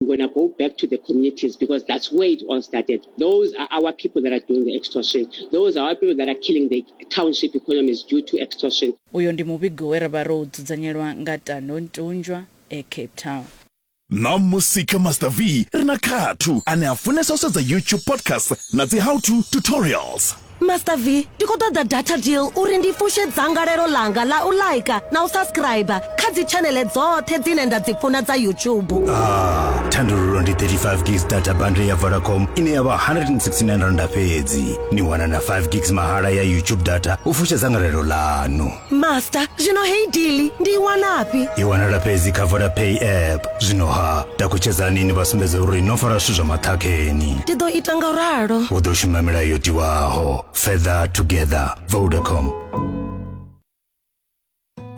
We're going to go back to the communities because that's where it all started. Those are our people that are doing the extortion. Those are our people that are killing the township economies due to extortion. Uyo ndi muvhigo we ra vha ro u dzudzanyelwa nga Tando Ntunjwa e Cape Town. Ṋamusi kha Master V ri na Khathu ane a funesa u sedza YouTube podcasts na dzi how to tutorials. Master V, ndi khou ṱoḓa data deal uri ndi fushe dzangalelo ḽanga ḽa u laika na u subscriber kha dzi tshaneḽe dzoṱhe dzine nda dzi funa dza YouTube. Ah, thandululo ndi 35 gigs data bundle ya Vodacom ine ya vha 169 randa fhedzi. Ni wana na 5 gigs mahala ya YouTube data u fusha dzangalelo ḽanu. Master, zwino heyi deal ndi i wanafhi? I wanala fhedzi kha Vodapay app. Zwino ha, takutshedzani ni vha sumbedze uri no fara zwithu zwa maṱhakheni. Ndi ḓo ita nga u ralo. Hu ḓo shuma milayo yo tiwaho. Further together. Vodacom.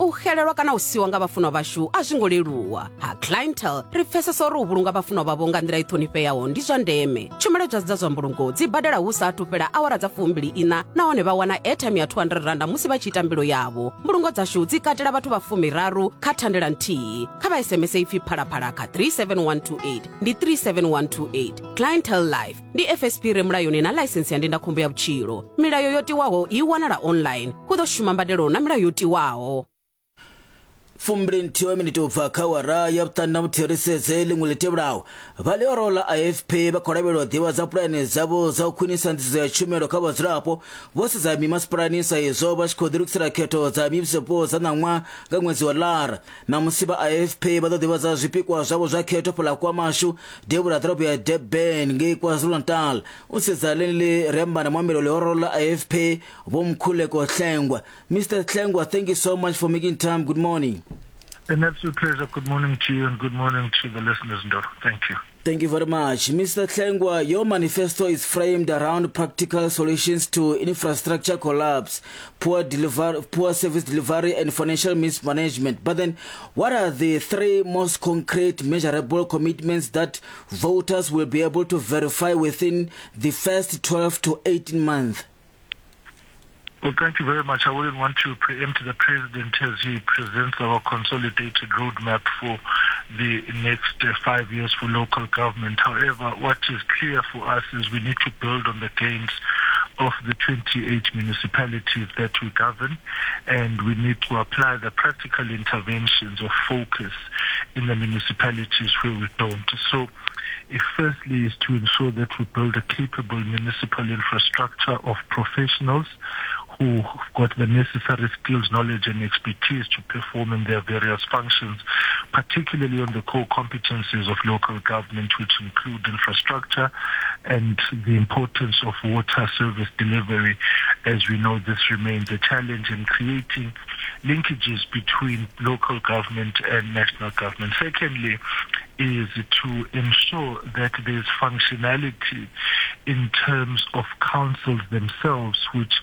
U xelelwa kana u siwa nga vhafunwa vhashu a zwi ngo leluwa. Ha Clientele ri pfesesa uri u vhulunga vhafunwa vhavho nga nḓila i ṱhonifheaho ndi zwa ndeme. Tshumelo dza dza zwa mbulungo dzi badela hu sa athu fhela awara dza fumbili iṋa nahone vha wana airtime ya 200 randa musi vha tshi ita mbilo yavho. Mbulungo dzashu dzi katela vhathu vha fumiraru kha thandela nthihi. Kha vha SMS ipfi phalaphala kha 37128 ndi 37128. Clientele Life ndi FSP re mulayoni na ḽaisensi ya ndindakhombo ya vhutshilo. Milayo yo tiwaho i wanala online. Hu ḓo shuma mbadelo na milayo yo tiwaho. Fumbili nthihi wa miniti u bva kha awara ya vhuṱanu na vhuthihi ri sedze ḽiṅwe ḽi tevhelaho. Vha ḽihoro ḽa IFP vha khou lavhelelwa u ḓivhadza pulane dzavho dza u khwinisa nḓisedzo ya tshumelo kha vhadzulapo vho sedza mimasipalani sa izwo vha tshi khou ḓilugisela khetho dza mivhusopo dza ṋaṅwaha nga ṅwedzi wa Lara. Ṋamusi vha IFP vha ḓo ḓivhadza zwipikwa zwavho zwa khetho fhaḽa KwaMashu, devhula ha ḓorobo ya Durban ngei KwaZulu-Natal. U sedza ḽeneḽi ri amba na muambeli wa ḽihoro ḽa IFP Vho Mkhuleko Hlengwa. Mister Hlengwa, thank you so much for making time. Good morning. An absolute pleasure. Good morning to you and good morning to the listeners, Ndoro. Thank you. Thank you very much. Mr. Hlengwa, your manifesto is framed around practical solutions to infrastructure collapse, poor, deliver, poor service delivery, and financial mismanagement. But then, what are the three most concrete, measurable commitments that voters will be able to verify within the first 12 to 18 months? Well, thank you very much. I wouldn't want to preempt the President as he presents our consolidated roadmap for the next uh, five years for local government. However, what is clear for us is we need to build on the gains of the 28 municipalities that we govern, and we need to apply the practical interventions of focus in the municipalities where we don't. So, if firstly is to ensure that we build a capable municipal infrastructure of professionals who've got the necessary skills, knowledge and expertise to perform in their various functions, particularly on the core competencies of local government, which include infrastructure and the importance of water service delivery. As we know, this remains a challenge in creating linkages between local government and national government. Secondly, is to ensure that there's functionality in terms of councils themselves, which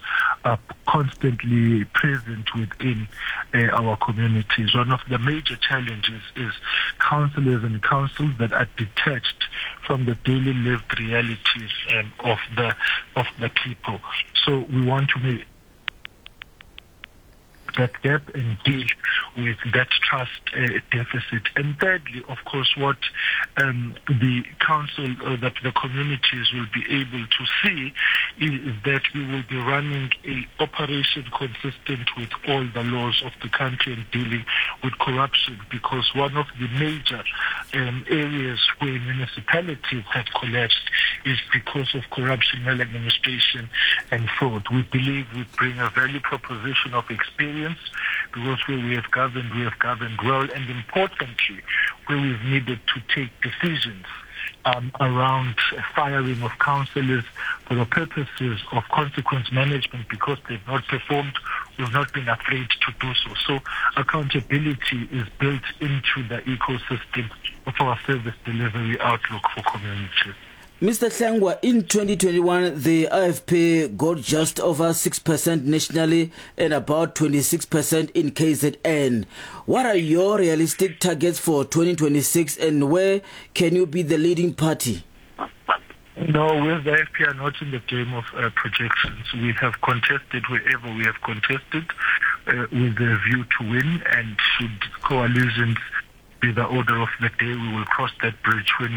are constantly present within uh, our communities. One of the major challenges is councillors and councils that are detached from the daily lived realities um, of the of the people. So we want to make that gap and deal with that trust uh, deficit. And thirdly, of course, what um, the council uh, that the communities will be able to see is, is that we will be running a operation consistent with all the laws of the country and dealing with corruption because one of the major um, areas where municipalities have collapsed is because of corruption, maladministration and fraud. We believe we bring a value proposition of experience because where we have governed, we have governed well, and importantly, where we've needed to take decisions um, around firing of councillors for the purposes of consequence management because they've not performed, we've not been afraid to do so. So accountability is built into the ecosystem of our service delivery outlook for communities. Mr. Hlengwa, in 2021, the IFP got just over 6% nationally and about 26% in KZN. What are your realistic targets for 2026 and where can you be the leading party? No, we as the IFP are not in the game of uh, projections. We have contested wherever we have contested uh, with a view to win and should coalitions be the order of the day. We will cross that bridge when